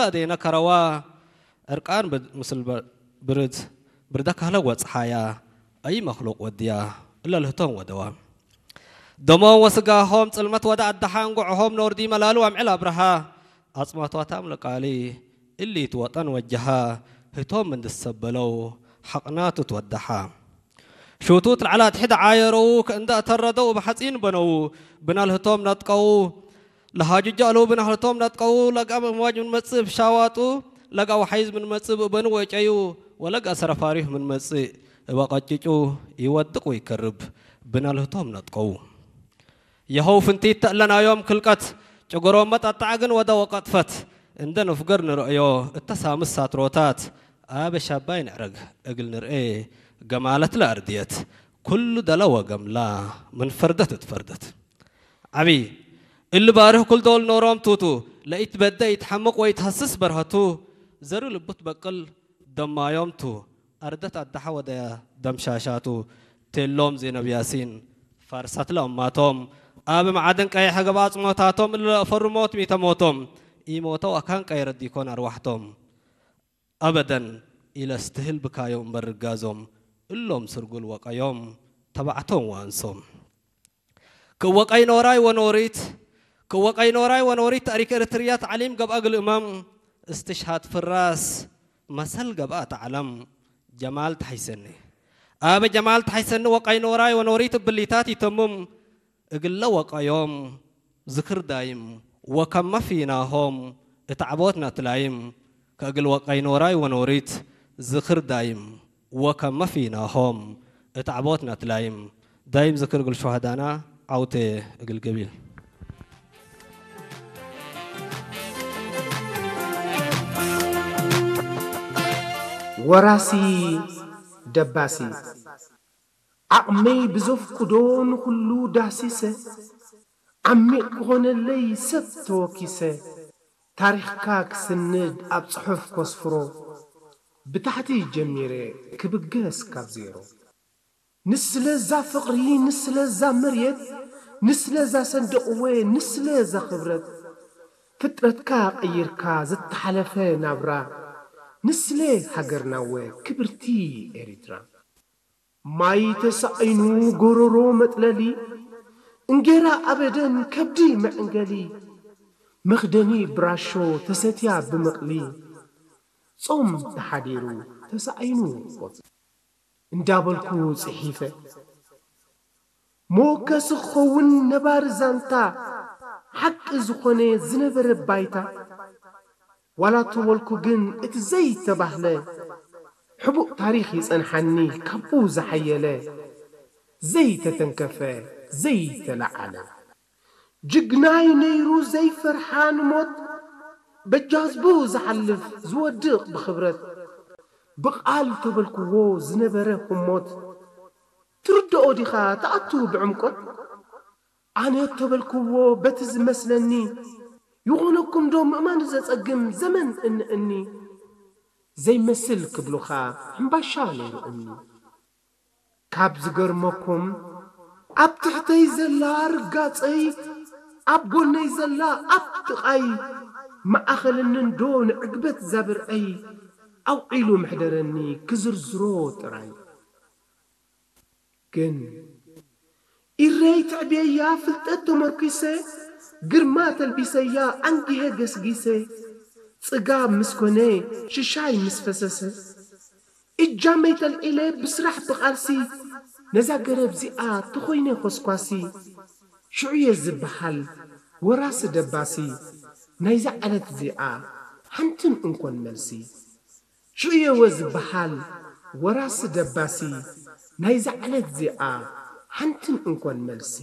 ኣደይነ ከረዋ ዕርቃን ብድ-፣ ምስል በ-፣ ብርድ፣ ብርደ ካህለ ወጽሓያ፣ ኣይ መኽሉቕ ወድያ፣ እለ ልህቶም ወደዋ። ደሞም ወስጋሆም ጽልመት ወደ ኣደሓ፣ እንጉዕሆም ኖርዲ መላሉ ኣምዕል ኣብርሃ፣ ኣጽማቷታም ለቃሊ፣ እሊ ትወጠን ወጀሃ፣ ህቶም እንድሰበለው፣ ሓቕናቱ ትወደሓ። ሹቱት ለዓላ ትሕድ ዓየረው፣ ከእንዳ እተረደው ብሓጺን በነው፣ ብናልህቶም ነጥቀው፣ ለሃጁጃ ኣለው ብናህልቶም ነጥቀው፣ ለጋ እምዋጅ ምን መጽእ ብሻዋጡ፣ ለጋ ወሓይዝ ምን መጽእ ብእበኑ ወጨዩ፣ ወለጋ ሰረፋሪፍ ምን መጽእ እበ ቀጭጩ፣ ይወድቅ ወይከርብ ብናልህቶም ነጥቀው። የኸው ፍንቲት ተእለናዮም ክልቀት፣ ጭጎሮም መጠጣዕ ግን ወደ ወቀጥፈት፣ እንደ ንፍገር ንርእዮ እተ ሳምስ ሳትሮታት፣ ኣበ ሻባይ ንዕረግ እግል ንርኤ፣ ገማለት ለኣርድየት፣ ኩሉ ደለ ወገምላ ምን ፈርደት እትፈርደት። ዓቢ እሊ ባርህ ኩል ዶል ኖሮም ቱቱ፣ ለኢትበደ ኢትሐምቅ ወኢትሀስስ በርሀቱ፣ ዘሩ ልቡ ትበቅል ደማዮም ቱ፣ ኣርደት ኣዳሐ ወደያ ደምሻሻቱ፣ ቴሎም ዜነብ ያሲን፣ ፋርሳት ለእማቶም፣ ኣብ መዓድን ቀይሐ ገብኣ ጽሞታቶም፣ እለ ለእፈሩ ሞት ሚተ ሞቶም፣ ኢሞተው ኣካን ቀይረ ዲኮን ኣርዋሕቶም። ኣበደን ኢለስትህል ብካዮም እምበር ርጋዞም፣ እሎም ስርጉል ወቀዮም፣ ተባዕቶም ወኣንሶም። ክወቀይ ኖራይ ወኖሪት፣ ክወቀይ ኖራይ ወኖሪት ታሪክ ኤርትርያ ተዕሊም ገብኣ ግልእመም፣ እስትሽሃድ ፍራስ መሰል ገብኣ ተዓለም፣ ጀማል ተሓይሰኒ። ኣበ ጀማል ተሓይሰኒ ወቀይ ኖራይ ወኖሪት እብሊታት ይተምም፣ እግለ ወቀዮም ዝክር ዳይም ወከመ ፊናሆም እት ዓቦት ነትላይም፣ ከእግል ወቀይ ኖራይ ወኖሪት ዝክር ዳይም ወከመ ፊናሆም እት ዓቦት ነትላይም፣ ዳይም ዝክር እግል ሹሃዳና ዓውቴ እግል ገቢል። ወራሲ ደባሲ ዓቕመይ ብዘፍቅዶ ንኹሉ ዳሲሰ፣ ዓሚቕ ክኾነለይ ሰብ ተወኪሰ፣ ታሪኽካ ክስንድ ኣብ ጽሑፍ ከስፍሮ፣ ብታሕቲ ጀሚረ ክብገስ ካብ ዜሮ። ንስለ እዛ ፍቕሪ፣ ንስለ እዛ መርየት፣ ንስለ እዛ ሰንደቕወ፣ ንስለ እዛ ኽብረት፣ ፍጥረትካ ቀይርካ ዝተሓለፈ ናብራ፣ ንስለ ሃገርናወ ክብርቲ ኤሪትራ። ማይ ተሳኢኑ ጎሮሮ መጥለሊ፣ እንጌራ ኣበደን ከብዲ መዕንገሊ፣ መኽደኒ ብራሾ ተሰትያ ብምቕሊ፣ ጾም ተሓዲሩ ተሳኢኑ ቆጽሊ። እንዳበልኩ ጽሒፈ። መወከሲ ክኸውን ነባሪ ዛንታ፣ ሓቂ ዝኾነ ዝነበረ ባይታ፣ ዋላ ተበልኩ ግን እቲ ዘይተባህለ፣ ሕቡእ ታሪኽ ይጸንሓኒ ካብኡ ዝሓየለ፣ ዘይተተንከፈ ዘይተለዓለ። ጅግናይ ነይሩ ዘይፈርሓ ንሞት፣ በጃዝቡ ዝሓልፍ ዝወድቕ ብኽብረት፣ ብቓል ተበልክዎ ዝነበረ ህሞት፣ ትርድኦ ዲኻ ትኣቱ ብዕምቆት? ኣነ ተበልክዎ በቲ ዝመስለኒ፣ ይኾነኩም ዶ ምእማን ዘጸግም ዘመን እንእኒ? ዘይመስል ክብሉኻ ሕምባሻ ነይሩ እምኒ። ካብ ዝገርመኩም ኣብ ትሕተይ ዘላ ርጋጸይ፣ ኣብ ጎነይ ዘላ ኣብ ጥቓይ፣ መኣኸልኒ እንዶ ንዕግበት ዛብርዐይ፣ ኣውዒሉ መሕደረኒ ክዝርዝሮ ጥራይ። ግን ኢረይ ተዕብየያ ፍልጠት ተመርኲሰ፣ ግርማ ተልቢሰያ ኣንጊሀ ገስጊሰ፣ ጽጋብ ምስ ኮነ ሽሻይ ምስ ፈሰሰ፣ እጃመይ ተልዒለ ብስራሕ ብቓልሲ፣ ነዛ ገረብ እዚኣ ተኾይነ ኾስኳሲ፣ ሽዑየ ዝበሃል ወራሲ ደባሲ፣ ናይዛ ዕለት እዚኣ ሓንትን እንኮን መልሲ። ሽዑየወ ዝበሃል ወራሲ ደባሲ፣ ናይዛ ዕለት እዚኣ ሓንትን እንኮን መልሲ።